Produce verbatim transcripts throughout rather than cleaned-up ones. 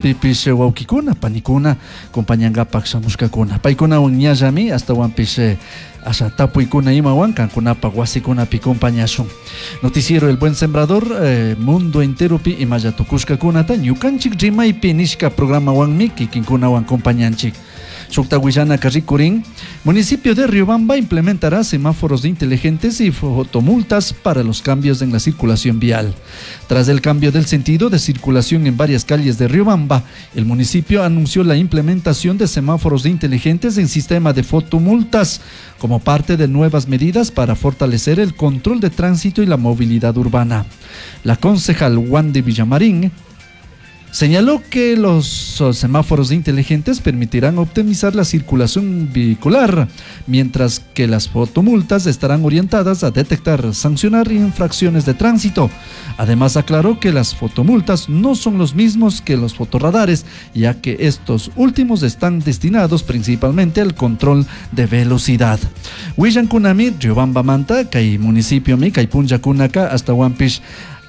Pipish wawkikuna panikuna compañankapak shamushkakuna paykunawan ñallami ashtawanpish asha tapuykuna imawan kankunapak wasikunapi compañashun. Noticiero El Buen Sembrador, eh, mundo enteropi imalla tukushkakunata ñukanchik rimaypi nishka programawanmi kikinkunawan compañanchik. Shukta willanaka rikurin, municipio de Riobamba implementará semáforos inteligentes y fotomultas para los cambios en la circulación vial. Tras el cambio del sentido de circulación en varias calles de Riobamba, el municipio anunció la implementación de semáforos inteligentes en sistema de fotomultas como parte de nuevas medidas para fortalecer el control de tránsito y la movilidad urbana. La concejal Wandy Villamarín señaló que los semáforos inteligentes permitirán optimizar la circulación vehicular, mientras que las fotomultas estarán orientadas a detectar, sancionar infracciones de tránsito. Además, aclaró que las fotomultas no son los mismos que los fotorradares, ya que estos últimos están destinados principalmente al control de velocidad. Willankunami, Riobambamanta, kay municipiomi, kay punllakunaka, ashtawanpish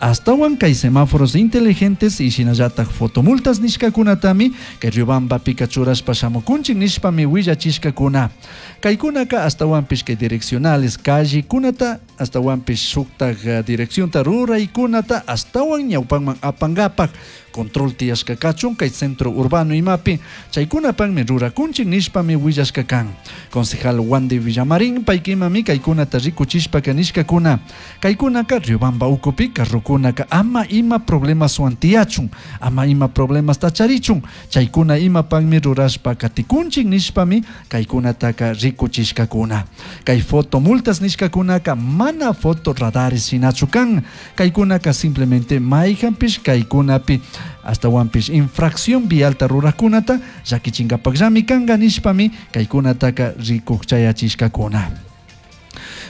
ashtawan kay semáforos inteligentes y shinallatak fotomultas nishkakunatami kay Riobambapika churashpa shamukunchik nishpami willachishkakuna. Kaykunaka ashtawanpish kay direccionales callekunata ashtawanpish shuktak direccionta ruraykunata ashtawan ñawpanman apankapak control tiyashka kachun kay centro urbano imapi chaykunapakmi rurakunchik nishpami willashka kan. Concejal Wandy Villamarín paykimami kaykunata rikuchishpaka nishkakuna kaykunaka Riobamba ukupi carrokunaka ama ima problemaswan tiyachun ama ima problemasta charichun chaykuna imapakmi rurashpa katikunchik nishpami kaykunataka rikuchishkakuna. Kay fotomultas nishkakunaka mana fotorradares shinachu kan kaykunaka simplemente mayjanpish kaykunapi ashtawanpish infracción vialta rurakunata llakichinkapakllami kanka nishpami kaykunataka rikuk chayachishkakuna.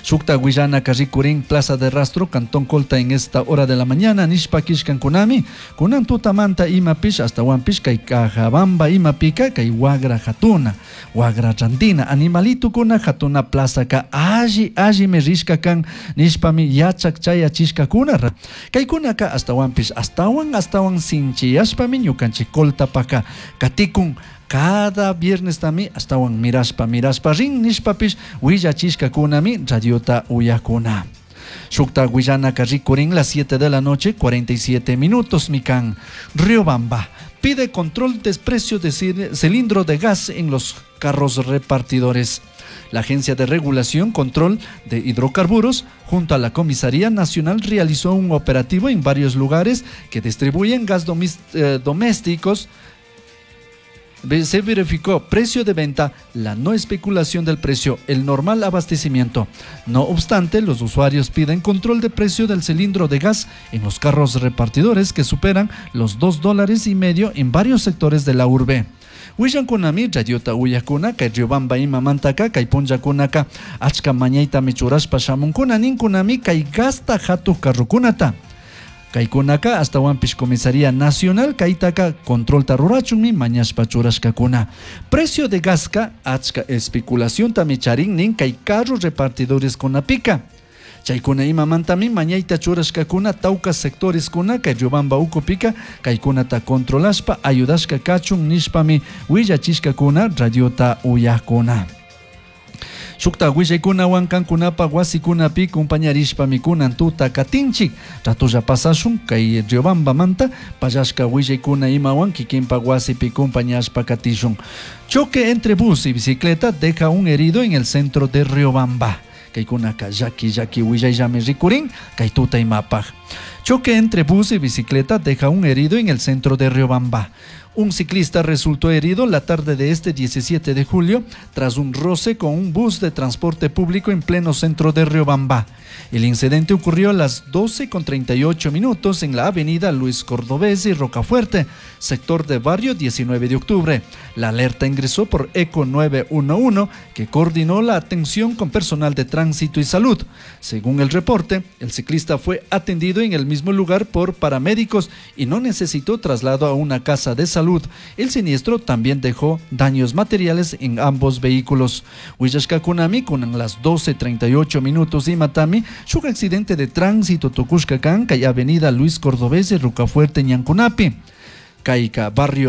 Shukta willanaka rikurin Plaza de Rastro, Cantón Colta en esta hora de la mañana, nishpa kishkankunami, kunan tutamanta imapish, ashtawanpish kay Cajabamba imapika, kay wagra hatuna, wagra rantina, animalitukuna hatuna plaza ka alli allimi rishka kan, nishpami yachak chayachishkakuna. Kaykunaka ashtawanpish, ashtawan ashtawan sinchiyashpami ñukanchik Coltapaka katikun. Cada viernes tami ashtawan mirashpa mirashpa rin nishpapish willachishkakunami radiota uyakuna. Shukta willanaka rikurin las siete de la noche, cuarenta y siete minutos mikan. Riobamba pide control de precio de cilindro de gas en los carros repartidores. La Agencia de Regulación Control de Hidrocarburos, junto a la Comisaría Nacional, realizó un operativo en varios lugares que distribuyen gas domis-, eh, domésticos. Se verificó precio de venta, la no especulación del precio, el normal abastecimiento. No obstante, los usuarios piden control de precio del cilindro de gas en los carros repartidores que superan los dos dólares y medio en varios sectores de la urbe. Willankunami radiota uyakuna kay Riobamba imamantaka kay punllakunaka achka mañaytami churashpa shamunkuna ninkunami kay gasta hatuj carrokunata. Kaykunaka ashtawanpish Comisaría Nacional kaytaka controlta rurachunmi mañashpa churashkakuna. Precio de gaska achka especulación tami charin nin kay carro repartidores kunapika. Chaykuna imamantami mañayta churashkakuna tawka sectores kuna kay Riobamba ukupika kaykunata controlashpa ayudashka kachun nishpami willachishkakuna radiota uyakuna. Shukta willaykunawan kankunapa wasikunapi compañarishpami kunan tuta katinchik. Ratulla pasashun kay Riobambamanta pallashka willaykuna imawan kikinpa wasipi compañashpa katishun. Choque entre bus y bicicleta deja un herido en el centro de Riobamba. Kaykunaka llaki llaki willayllami rikurin kay tuta imapaj. Choque entre bus y bicicleta deja un herido en el centro de Riobamba. Un ciclista resultó herido la tarde de este diecisiete de julio tras un roce con un bus de transporte público en pleno centro de Riobamba. El incidente ocurrió a las doce con treinta y ocho minutos en la avenida Luis Cordovez y Rocafuerte, sector de barrio diecinueve de octubre. La alerta ingresó por Eco nueve uno uno, que coordinó la atención con personal de tránsito y salud. Según el reporte, el ciclista fue atendido en el mismo lugar por paramédicos y no necesitó traslado a una casa de salud. El siniestro también dejó daños materiales en ambos vehículos. Huillashkakunami con las doce treinta y ocho minutos y matami, shuk accidente de tránsito tukushkakan kay avenida Luis Cordovez y Rocafuerte Ñancunapi. Caica barrio